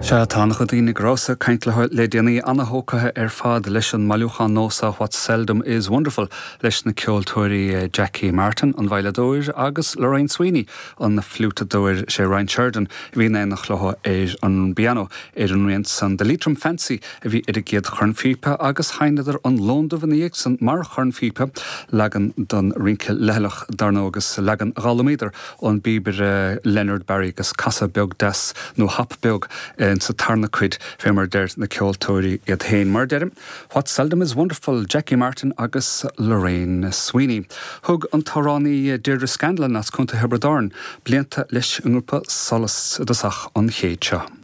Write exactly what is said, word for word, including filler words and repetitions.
Sea tá an-chuid daoine go rabhas ag caint leo le déanaí an-tógtha ar fad leis an mbailiúchán nua seo What Seldom is Wonderful leis na ceoltóirí eh, Jackie Martin an veidhleadóir agus Lorraine Sweeney an fliútadóir sé Ryan Sheridan a bhí in éineacht leo ar an bpianó ar an rian san The Leitrim Fancy a bhí ar a gcéad chornphíopa agus sheinneadar an Lon Dubh ina dhiaidh san mar chornphíopa leagan don rince leithleach dar ndóigh agus leagan a d'fhoghlaimíodar ón bpíobaire Leonard Barry agus casadh beag deas nó hop beag sa tarna cuid fé mar deir na ceoltóirí iad féin mar deirim. What Seldom is Wonderful, Jackie Martin agus Lorraine Sweeney. Thug an t-amhránaí Deirdre Scanlon as Contae Thiobraid Árann blianta leis an ngrúpa Solas i dtosach an chéid seo.